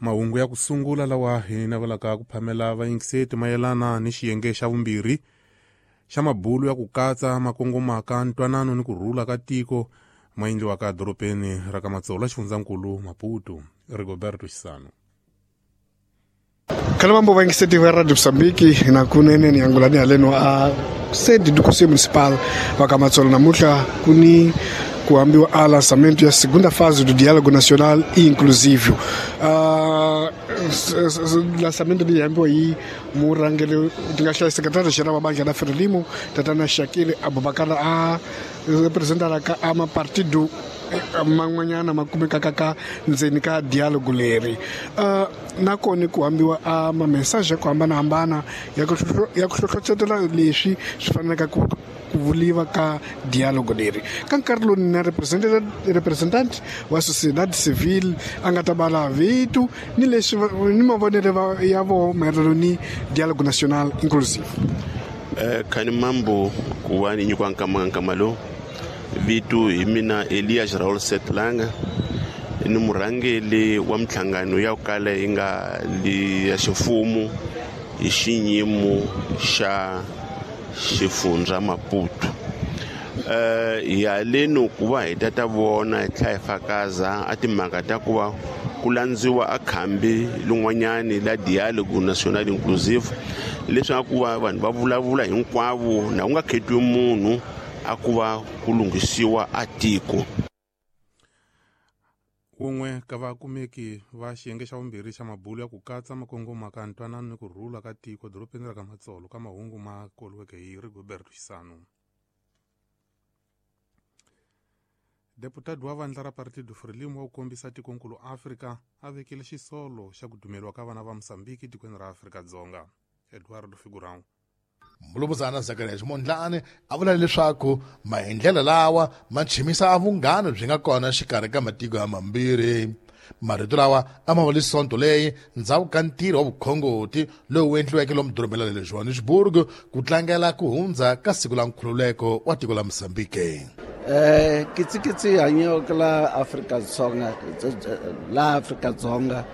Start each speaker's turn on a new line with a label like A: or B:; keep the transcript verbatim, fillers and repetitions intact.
A: Mahungu ya ku sungula lawa hi navelaka ku phamela vayingiseti mayelana ni xiyenge xa vumbirhi xa mabulu ya ku katsa makongomaka ntwanano ni ku rhula ka tiko ma endliwaka edorobeni ra ka Matsolo xifundzankulu Maputo. Rigoberto Xisano.
B: Kalabambo vayingiseti va Radio Mozambique na kunene ni angulani haleno a sede do Conselho Municipal wa ka Matsolo namuntlha ku ni ku hambiwa a lançamento ya segunda fase do Diálogo Nacional e Inclusivo. Uh, lançamento leyi hambiwa hi murhangeri ti nga hlaya secretario general wa bandla la Frelimo tatana Shakile Abubakar a representaraka a mapartido man'wanyana ma kumekaka ka ndzeni ka dialogue leri. Uh, nakona ku hambiwa a ma-message ya ku hambanahambana ya ku ya ku hlohlotela leswi swi faneleke ku ku vuliwa ka dialogue leri. Ka nkarhi lowu na representant wa sociedade civile a nga ta bala vito ni leswi ni mavonelo ya voho mayelana ni dialogue national inclusive.
C: Eh, khani mambo ku va ni nyikiwa nkama nkama lowu. Vito hi mina Elias Raul Setlanga, ni murhangeri wa minhlangano ya ku kala yi nga li ya ximfumo hi xiyimo xa xifundza Maputo. Eh hi haleni ku va hi ta ta vona hi tlhela hi fakaza a timhaka ta ku va ku landziwa a khambi lin'wanyani la Dialogue National Inclusive, leswaku va vanhu va vulavula hinkwavo na ku nga khetiwi munhu a ku va ku lunghisiwa a tiko.
A: Wun'we ka vakumeki va xiyenge xa vumbirhi xa mabulu ya ku katsa makongoma ka ntwanano ni ku rhula ka tiko dorobeni ra ka Matsolo ka mahungu ma koliweke hi Rigoberto Xisano. Deputado wa vandla ra Partido Frelimo wa ku kombisa tikonkulu Afrika a vekile xisolo xa ku dumeriwa ka vana va Mozambique tikweni ra Afrika-Dzonga. Eduardo Figurão.
D: Mulumuzana Zacharias Mondlane a vula leswaku maendlelo lawa ma chimisa vunghana byi nga kona xikarhi ka matiko ya mambirhi. Marito lawa a ma vuli sonto leyi ndzhaku ka ntirho wa vukhongoti lowu endliweke lomu dorobeni ra le Johannesburg ku tlangela ku hundza ka siku la nkhululeko wa tiko la Mozambique.
E: Eh kitsikitsi hanyo la Afrika-Dzonga la Afrika-Dzonga